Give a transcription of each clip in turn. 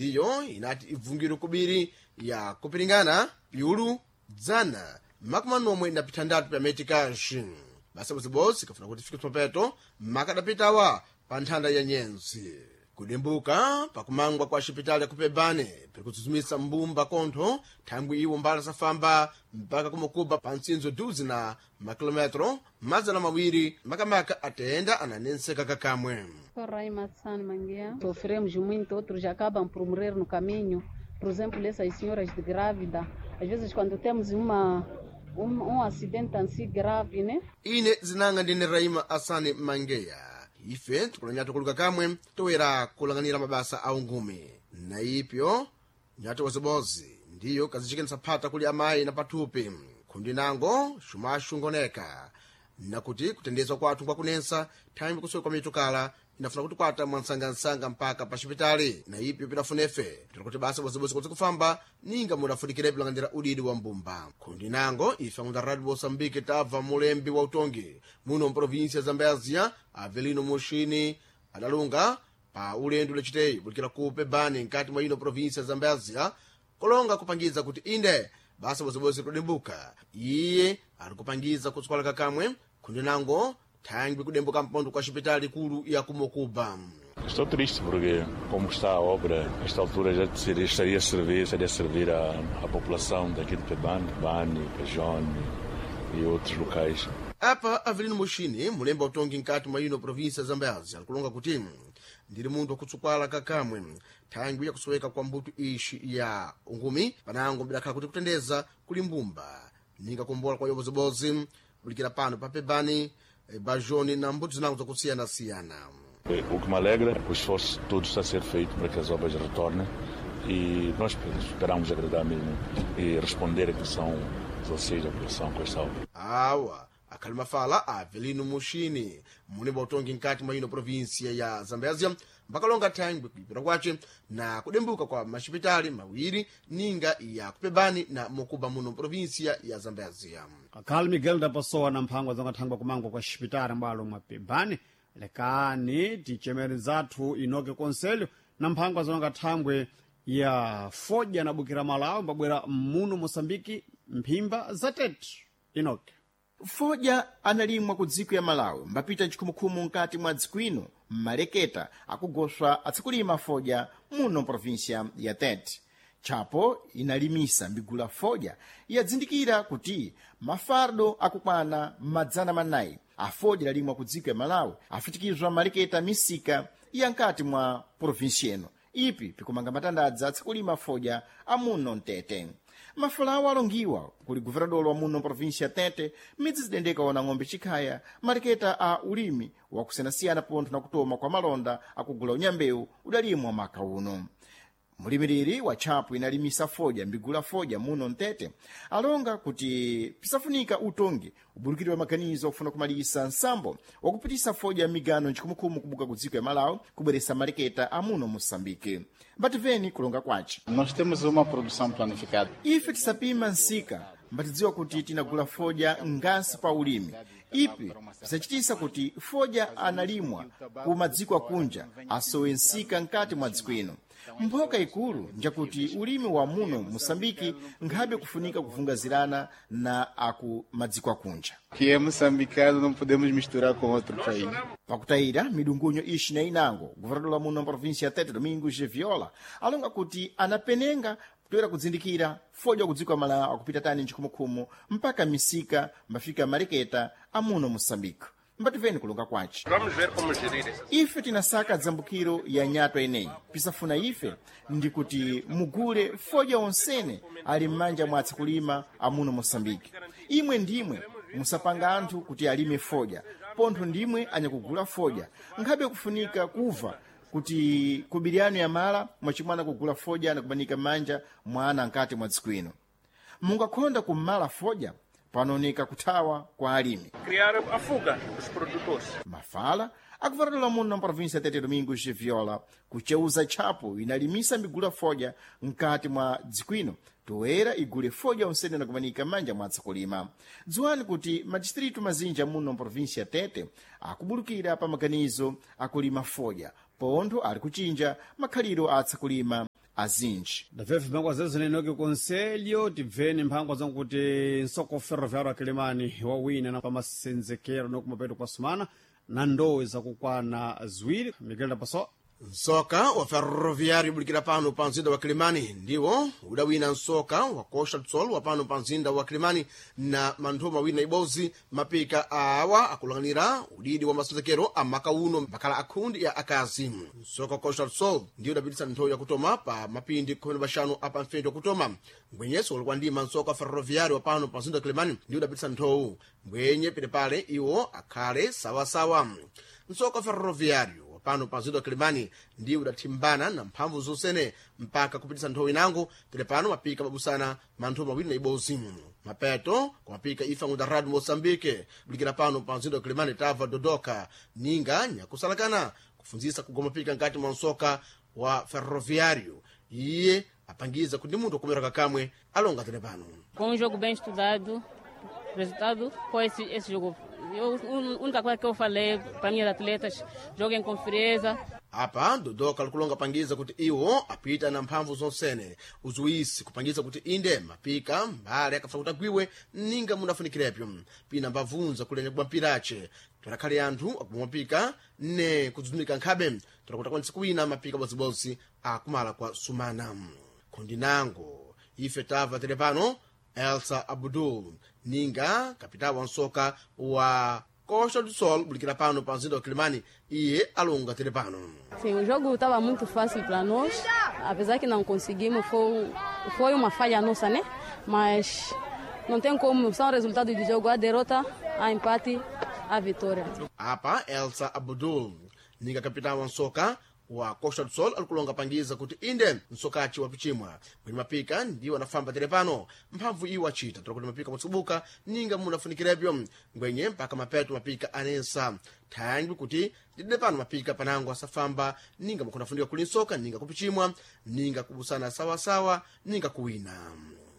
Ndiyo inati ibvungiro kubiri ya kupiringana piulu 146 pya metikashi. Basa bosibose kafuna kuti fike tsopano makadapitawa pa nthanda ya nyenzi. Kudimbuka pakumangwa kwa xipitali ya kupebane pirikutsudzumisa mbumba kontho thangwi iwo mbala safamba mpaka kumukuba pa mtsinzo duzi na makilometro 200, makamaka atenda ananenseka kakamwe. Sou Raima San Manguia. Sofremos muito, outros acabam por morrer no caminho. Por exemplo, essas senhoras de grávida. Às vezes, quando temos um acidente assim grave, né? Ine zinanga ndine Raima Asani Mangeya. Ife tikulanyatu kuluka kamwe toyera kulang'anira mabasa a ungumi na ipyo nyati wazibozi ndiyo kazichikenisa phata kuli amayi na pathupi khundi nango xumaxungoneka nakuti kutendezwa kwathu kwakunensa thangwi kusowa kwa mitukala inafuna kuti kwata mwansangansanga mpaka pa xipitali. Na ipyo pidafunefe tiri basa bozibozi kuti kufamba ninga mudafunikire pilanganira udidi wa mbumba. Khundi nango ife angunda Radio Moçambique tabva mulembi wa utongi muno mprovinsia ya Zambézia, Avelino Muxini, adalunga pa ulendo laciteyi bulikira ku Pebani nkati mwa ino provinsia ya Zambézia kolonga kupangiza kuti inde basa bozibozi kudimbuka. Iye ari kupangiza kutswala kakamwe khundi nango thangwi kudembuka mpondo kwa xipitali kulu ya kumokuba. Estou triste porque, como está a obra, a esta altura já seria, estaria a servir, estaria a servir à população daqui de Pebane, Bani, Pejone e outros locais. Apa Avelino Muxini, mulembi wa utongi nkati mwa ino provinsia ya Zambézia, alikulonga kuti ndiri munthu wakutsukwala kakamwe thangwi yakusoweka kwa mbuto ixi ya ungumi panango bidakhala kuti kutendeza kuli mbumba ninga kumbola kwa yobozibozi bulikira pano pa Pebani, Bajoni na mbuto zinango zakusiyanasiyana. O que me alegra é que o esforço todo está a ser feito para que as obras retornem e nós esperamos agradar mesmo e responder a que são os anseios da população com esta obra. Awa akhali mafala a Avelino Muxini, mulembi wa utongi nkati mwa ino provinsia ya Zambézia, mbakalonga thangwi kuipira kwace na kudembuka kwa maxipitali mawiri ninga ya kupebani na mokuba muno provinsia ya Zambézia. Akhali Miguel da Pessoa na mphangwa zongathangwa kumangwa kwa xipitali mbalo mwa Pebane. Lekani ticemere zathu inoke konselho na mphangwa zonga thangwe ya fodya na bukira Malawi mbabwera muno Moçambike mphimba za tete. Inoke. Fodya analimwa ku dziko ya Malawi mbapita mchikhumukhumu nkati mwa dziko ino mmaleketa akugoswa atsikulima fodya muno mprovinsia ya Tete. Tchapo inalimisa mbigula fodya yadzindikira kuti mafardo akukwana 400 afodya lalimwa ku dziko ya Malawi afitikizwa maleketa misika ya nkati mwa provinsia ino. Ipi pikumanga matandadza atsikulima fodya amuno mtete. Mafulawo alongiwa kuli guvernador wa muno provinsia ya Tete midzi zidendeka ona ng'ombe chikhaya maleketa a ulimi wakusiyanasiyana pontho na kutoma kwa malonda akugula unyambewu udalimwa maka uno. Mulimiriri wa tchapo inalimisa fodya mbigula fodya muno mtete alonga kuti pisafunika utongi uburukiriwa maganizo akufuna kumalisa nsambo wakupitisa fodya migano nchikhumukhumu kubuka ku dziko ya Malawi kubweresa maleketa amuno Moçambike. Mbativeni kulonga kwace. Nós temos uma produção planificada. Ife tisapima nsika mbatidziwa kuti tinagula fodya ngasi pa ulimi. Ipi pisachitisa kuti fodya analimwa ku madziko akunja asowe nsika nkati mwa dziko ino. Mphoka ikulu njakuti ulimi wa muno Moçambike nkhabe kufunika kuvungazirana na aku madziko akunja. Que é moçambicano, não podemos misturar com outro país. Pakutayira midungunyo ixi na inango, governador wa muno provinsia ya Tete Domingos de Viola alonga kuti anapenenga kutoera kudzindikira fodya kudziko Malawi akupita tani nchikhumukhumu mpaka misika mbafika maleketa amuno Moçambique. Mbativeni kulonga kwace. Vamos ver como gerir essa. Ife tinasaka dzambukiro ya nyatwa ineyi. Pisafuna ife ndi kuti mugule fodya onsene ali m'manja mwa atsikulima amuno Moçambique. Imwe ndimwe musapanga anthu kuti alime fodya, pontho ndimwe anyakugula fodya. Nkhabe kufunika kuva kuti kubiriyano yamala mwachimwana kugula fodya anakubanika m'manja mwa ana nkati mwa dziko ino. Mungakhonda kum'mala fodya panooneka kuthawa kwa alimi. Criar a fuga dos produtores. Mafala akuvatatola muno na província Tete Domingos de Viola kucheuza tchapo inalimisa migula fodya mkati mwa dziko ino toera igule fodya onsene nakumanika m'manja mwa atsakulima. Dziwani kuti madistritu mazinja muno mprovinsia Tete akubulukira pa maganizo akulima fodya pontho ali kuchinja makhaliro a atsakulima. azinji. Ndabvefe mphangwa zezo nenoke konselho tibveni mphangwa zankuti nsoko ferroviário akilimani wawina na pamasenzekero nokumapeto kwa sumana na ndowe zakukwana ziwiri. Miguel Dapaso. Nsoka wa ferroviário ubulikira pano pa mzinda wa Kilimani ndiwo udawina nsoka wa Costa do Sol wa pano pa mzinda wa Kilimani na manthu mawiri na ibodzi. Mapika awa akulanganira udidi wa masenzekero a maka uno mbakhala akhundi ya akazi. Nsoka wa Costa do Sol ndiwo udapitisa nthowi yakutoma pa mapindi 15 apa mfendi wakutoma, mbwenyeso ulikuwa ndima nsoka wa ferroviário wa pano pa mzinda wa Kilimani ndiwo udapitisa nthowu mbwenye penepale iwo akhale sawasawa. Nsoka wa ferroviário pano pa mzinda wa Kilimani ndiwo udathimbana na mphamvu zonsene mpaka kupitisa nthowi inango tele pano mapika mabusana manthu mawiri na ibodzi. Mapeto kumapika ifa ngunda radio Moçambique bulikira pano pa mzinda wa Kilimani tava dodoka ninga nyakusalakana kufunzisa kugoma pika nkati mwa nsoka wa ferroviário iye apangiza kuti munthu akumera kakamwe alonga tele pano. Com um jogo bem estudado, resultado foi esse jogo. A única coisa que eu falei para minhas atletas, joguem com frieza. Apa dodoka likulonga pangiza kuti iwo apita na mphamvu zonsene uzuwisi kupangiza kuti inde mapika mbale akafuna kuti agwiwe ninga munafunikirepo pina mbavunza kulenya kubwa mpirache tonakhale anthu akubwa mapika ne kudzudumika nkhabe tonakuti akwanise kuwina mapika bodzibodzi akumala kwa sumana. Khondinango ife tava tele pano Elsa Abdul ninga kapitao wa nsoka wa Costa do Sol bulikira pano pa mzinda wa Kilimani iye alonga tele pano. Sim, o jogo estava muito fácil para nós, apesar que não conseguimos, foi uma falha nossa, né? Mas não tem como, são resultados do jogo, a derrota, a empate, a vitória. Apa Elsa Abdul ninga kapitao wa nsoka wa Costa do Sol alikulonga pangiza kuti inde msokachi wapichimwa mwini mapika ndiwo anafamba tere pano mphamvu iwo achita tola kuti mapika mutsubuka ninga munafunikirebyo ngwenye mpaka mapeto mapika anensa thangwi kuti ndidide pano mapika panango asafamba ninga mukunafunika kuli nsoka ninga kupichimwa ninga kubusana sawasawa ninga kuwina.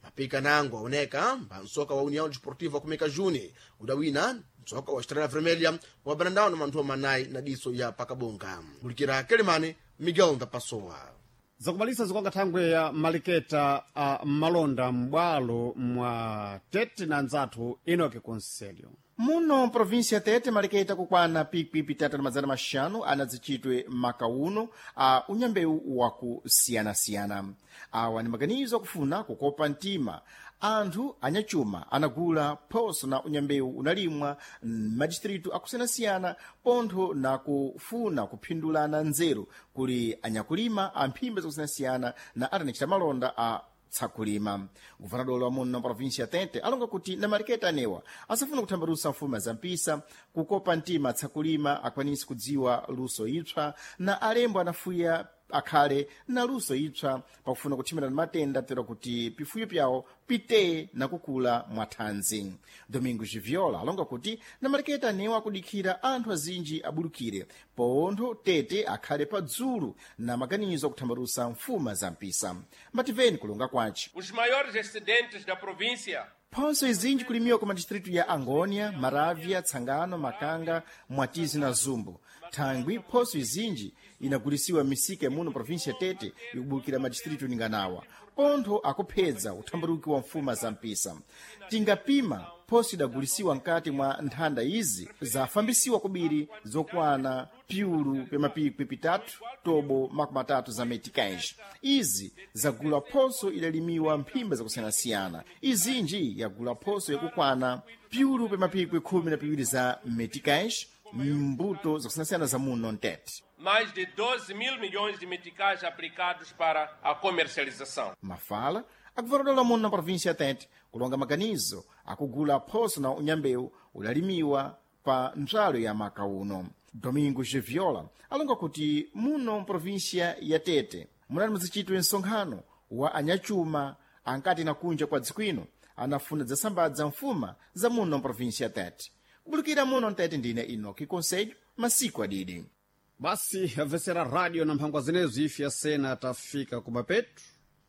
Mapika nango aoneka mba nsoka wa União Desportiva kumeka Juni udawina msoka wa Estrela Vermelha wa Brandão na manthu manayi na diso ya Pakabonga. Bulikira Kelimane, Miguel Ndapasowa. Zakumalisa zikwanga thangwe ya maliketa a malonda m'bwalo mwa Tete na nzathu Enoke Conselho. Muno província Tete maliketa kukwana pikwi pitatu na mazana maxanu anadzichitwe makauno a unyambewu wakusiyanasiyana. Awa ni maganizo akufuna kukopa mtima anthu anyachuma anagula phoso na unyambewu unalimwa m'madistritu akusiyanasiyana pontho na kufuna kuphindulana nzeru kuli anyakulima a mphimba zakusiyanasiyana na atanachita malonda a tsakulima. Guvernador wa muno província ya Tete alonga kuti na maliketa anewa asafuna kuthambalusa mfuma za mpisa kukopa mtima tsakulima akwanise kudziwa luso ipsa na alembo anafuya akhale na luso ipsa pakufuna kuthimirana matenda tero kuti pifuyo pyawo piteye na kukula mwathanzi. Domingo Giviola alonga kuti na maliketa anewa akudikhira anthu azinji abulukire pontho Tete akhale padzulu na maganizo akuthambalusa mfuma za mpisa. Mbativeni kulonga kwace. Os maiores excedentes da província Phonso izinji kulimiwa ku madistritu ya Angônia, Maravia, Tsangano, Makanga, Mwatizi na Zumbo. Thangwi phoso izinji inagulisiwa misika muno província ya Tete ikubulukira madistritu ninganawa. Pontho akuphedza uthambaluki wa mfuma za mpisa. Tingapima phoso idagulisiwa nkati mwa nthanda izi zafambisiwa kubiri zokwana piulu pemapikwi pitatu tobo makumi atatu za meticais. Izi zagula phoso idalimiwa mphimba zakusiyanasiyana. Izinji yagula phoso yakukwana piulu pemapikwi 12 za meticais mbuto zakusiyanasiyana za muno mtete. Mais de 12 mil milhões de meticais aplicados para a comercialização. Mafala akuvarodola muno na província ya Tete kulonga maganizo akugula phoso na unyambewu udalimiwa pa ntswalo ya maka uno. Domingo Geviola alonga kuti muno mprovíncia ya Tete munali muzichitwe msonkhano wa anyachuma ankati na kunja kwa dziko ino anafuna zasambadza mfuma za muno mprovíncia ya Tete. Kubulukira muno mtete ndine Inoki Conselho masiku adidi. Basi amvetsera radio na mphangwa zinezo ife yasena tafika kumapetu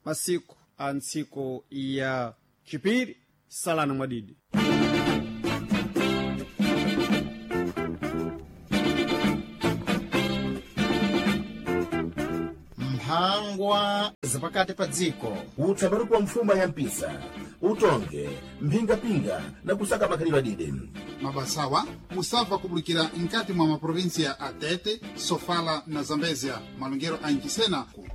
masiku a ntsiku ya chipiri salana mwadidi. Mphangwa. wa zapakati pa dziko. Utsambaruko wa mfuma ya mpisa, utonge, mphingapinga na kusaka makhalidwe adide. Mabasawa musabva kubulikira nkati mwa maprovinsia a Tete, Sofala na Zambezia, malongero a Ncisena ku